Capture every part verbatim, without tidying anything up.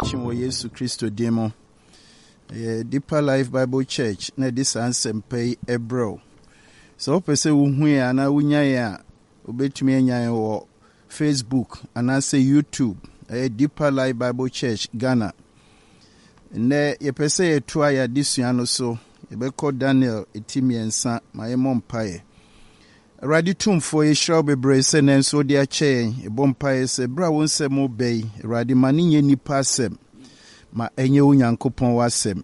Kyi wɔ Yesu Kristo din mu. Ɛyɛ Deeper Life Bible Church na ɛde saa nsɛmpa yi ɛbrɛ wo. Sɛ wopɛ sɛ wohu yɛn anaa wonya yɛn a, wobɛtumi anya yɛn wɔ Facebook anaasɛ YouTube. Ɛyɛ Deeper Life Bible Church Ghana. Nnɛ yɛpɛ sɛ yɛtoa yɛn adesua no so. Yɛbɛkɔ Daniel ti mmiɛnsa ma yɛmmɔ mpaeɛ. Awurade Tumfoɔ, yɛhyira wo bebree sɛ nnɛ nso wode akyɛ yɛn. Yɛbɔ mpaeɛ sɛ berɛ a wo nsɛm reba yi, Awurade, ma no nyɛ nnipa asɛm, ma ɛnyɛ wo Nyankopɔn w'asɛm,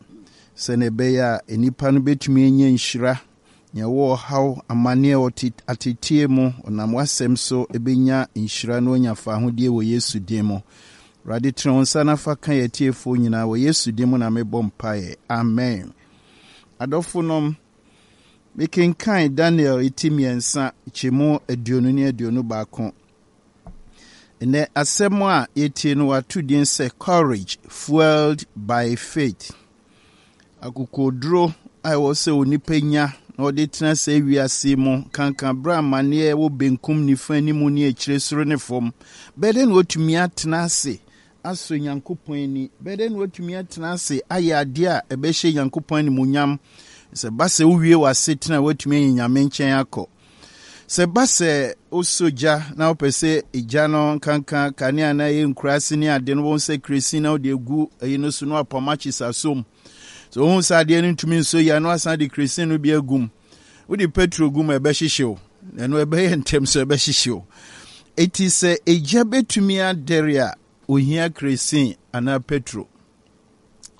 sɛnea ɛbɛyɛ a nnipa no bɛtumi anya nhyira, nea ɛwɔ ɔhaw, amanneɛ, ɔte ateteɛ mu, ɔnam w'asɛm so ɛbɛnya nhyira na wanya fahodie wɔ Yesu din mu. Awurade, tene wo nsa na fa ka yɛn atiefoɔ nyinaa wɔ Yesu din mu na mebɔ mpaeɛ. Amen. Adɔfonom, mekenkan Daniel ti mmiɛnsa kyɛmu aduonu ne aduonu baako. Nnɛ asɛm a yɛtie no wato din sɛ Courage Fueled by Faith. Akokoduro a ɛwɔ sɛ onipa nya na ɔde tena sɛ wiase mu kankan berɛ amanneɛ wɔ benkum nifa anim ne akyire soro ne fam. Bɛyɛ dɛn na watumi atena ase asɔ Nyankopɔn ani? Bɛyɛ dɛn na watumi atena ase ayɛ adeɛ a ɛbɛhyɛ Nyankopɔn animuonyam? Sɛ ba sɛ wowie w'asetena a watumi anya Nyame nkyɛn akɔ. Sɛ ba sɛ wosɔ gya na wopɛ sɛ egya no nkanka kanea na ɛyɛ nkuraase ne ade no wɔn sɛ kerosene na wode agu ɛyi no so na wapam akye sasom. Sɛ wohu sɛ adeɛ no ntumi nsɔ yie a na wasan de kerosene no bi agum. Wode petrol gu mu a ɛbɛhyehye ɛno ɛbɛyɛ ntɛm so ɛbɛhyehye wo. Eti sɛ egya bɛtumi adɛre a ohia kerosene anaa petrol.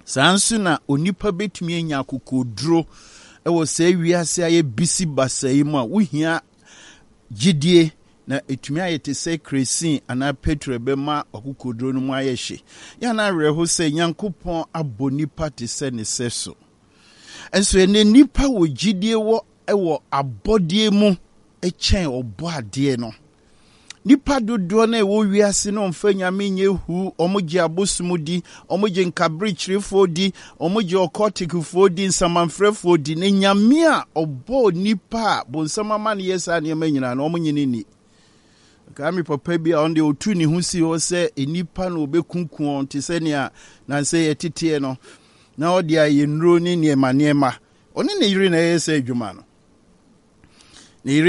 Saa nso na onipa bɛtumi anya akokoduro ɛwɔ saa wiase a yɛbisi basa yi mu a wohia gyidie na ɛtumi ayɛ te sɛ kerosene anaa petrol ɛbɛma akokoduro no mu ayɛ hye. Yɛn awerɛho sɛ Nyankopɔn abɔ nipa te sɛ ne sɛ so. Nso ɛnɛ nipa wɔ gyidie wɔ ɛwɔ abɔdeɛ mu ɛkyɛn ɔbɔ adeɛ no. Nipa dodoɔ no a ɛwɔ wiase no ɔmfa Nyame nyɛ hu, ɔmo gye abosom di, ɔmo gye nkaberekyerefoɔ di, ɔmo gye ɔkɔtikfoɔ di, nsamanfrɛfoɔ di. Na Nyame a ɔbɔɔ nipa a bonsam ama no yɛ saa nneɛma nyinaa no, ɔmo nye ne ni. Kaa me papa bi a ɔno deɛ ɔtu ne ho si hɔ sɛ nipa na ɔbɛkunkum wɔn te sɛ nea nansɛ yɛteteɛ no na ɔde ayɛ nnuro ne nneɛma nneɛma. Ɔne ne yere na ɛyɛ sɛ adwuma no. Ne yere